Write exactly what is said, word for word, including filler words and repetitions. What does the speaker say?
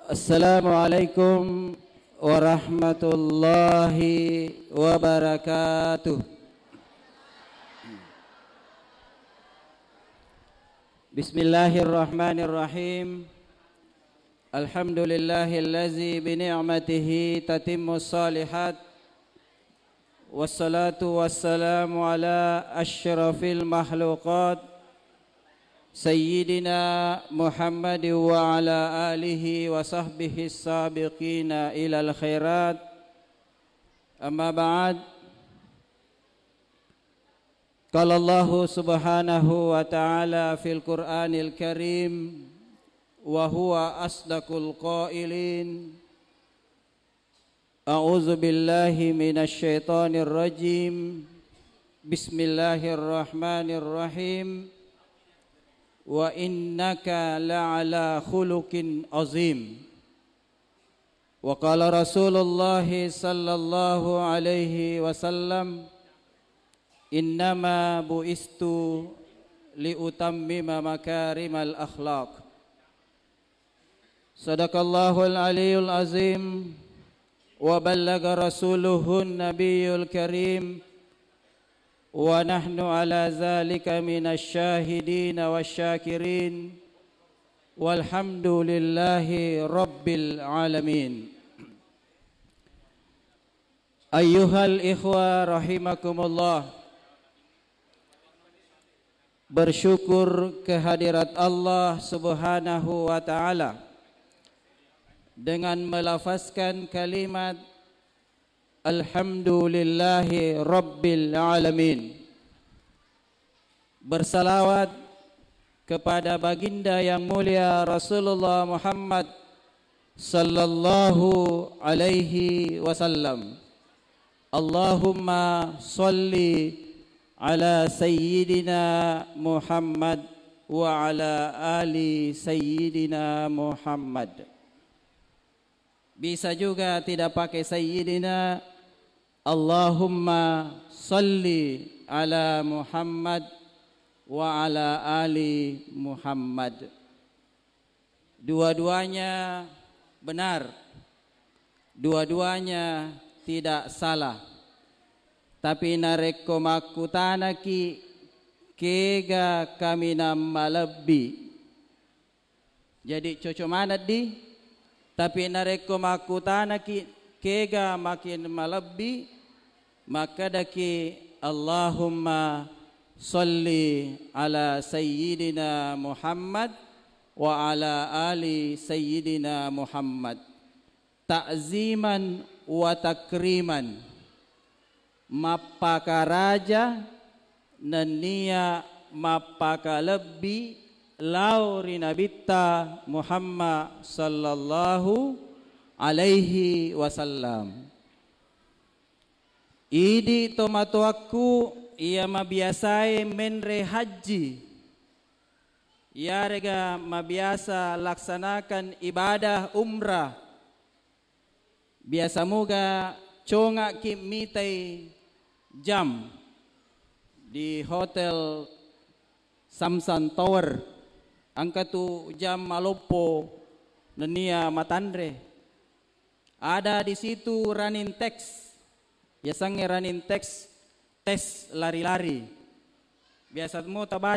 Assalamualaikum warahmatullahi wabarakatuh. Bismillahirrahmanirrahim. Alhamdulillahillazi bi ni'matihi tatimmus shalihat. Wassalatu wassalamu ala asyrafil makhluqat, Sayyidina Muhammad wa ala alihi wa sahbihi sabiqina ilal khairat. Amma ba'd. Qala Allahu subhanahu wa ta'ala fil Qur'anil Karim, wa huwa asdaqul qailin. A'udzu billahi minasy syaithanir rajim. Bismillahirrahmanirrahim. Wa innaka la'ala khuluqin azim. Wa qala Rasulullah sallallahu alaihi wasallam, "Innama bu'istu liutammima makarimal akhlaq." Sadaqallahul aliyul azim wa ballaga rasuluhun nabiyul karim wa nahnu ala zalika minasy syahidin wasyakirin walhamdulillahi rabbil alamin. Ayyuhal ikhwa rahimakumullah. Bersyukur kehadirat Allah Subhanahu wa Ta'ala dengan melafazkan kalimat Alhamdulillahi Rabbil Alamin. Bersalawat kepada baginda yang mulia Rasulullah Muhammad sallallahu alaihi wasallam. Allahumma salli ala sayyidina Muhammad wa ala ali sayyidina Muhammad. Bisa juga tidak pakai sayyidina. Allahumma salli ala Muhammad wa ala ali Muhammad. Dua-duanya benar, dua-duanya tidak salah. Tapi narekko makkutanaki, kega kaminang malebbi? Jadi coco maneng di, tapi narekko makkutanaki, kega makin malebbi, makkedaki, Allahumma salli ala sayyidina Muhammad wa ala ali sayyidina Muhammad. Ta'ziman wa takriman, mappakaraja nennia mappakalebbi lao ri Nabitta Muhammad sallallahu alaihi wasallam. Idi tomatoakku iya mabiasae menre hajji, iyarega mabiasa laksanakan ibadah umrah, biasa muga congakki mitai jam di Hotel Samsung Tower, engka tu jam maloppo nennia matanre. Ada di situ running text, yasengnge running text, tes lari-lari. Biasa mo tabaca